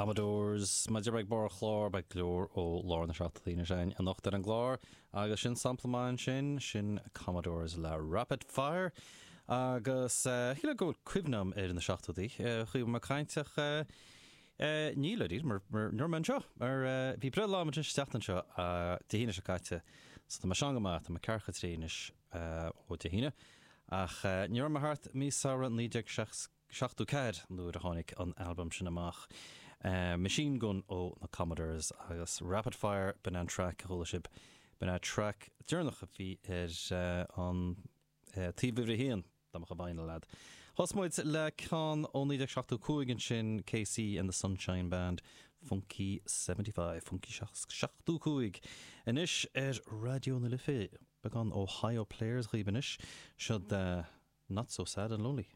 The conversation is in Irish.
Commodores. Mar a deir mé ag barr an chláir, beidh go leor ó lár na seachtóidí anois againn anocht ar an gclár agus sin sampla maith ansin, sin Commodores le Rapid Fire. Agus shílfeá go bhfuil cuimhne agam ar na seachtóidí, chuaigh mé ag caint ach níl dáiríre mar ní raibh mé anseo mar bhí breithlá agam isteach anseo Dé hAoine seo caite so tá mé sean go maith, tá mé ceathracha 3 anois ó Dé hAoine ach ní raibh mé thart mí Samhradh 1960. 74 nuair a tháinig an albam sin amach. Machine Gun ó na Commodores agus Rapid Fire, b'in é an traic a chuala sibh, b'in é traic deireanach a bhí ar an taobh uimhir a haon, dá mbeadh an vinyl a'd. Thosaigh muid le ceann ó 1975 ansin, KC and the Sunshine Band, Funky 75, Funky 75. Anois ar Raidió na Life, beagán Ohio Players dhaoibh anois, siod Not So Sad and Lonely.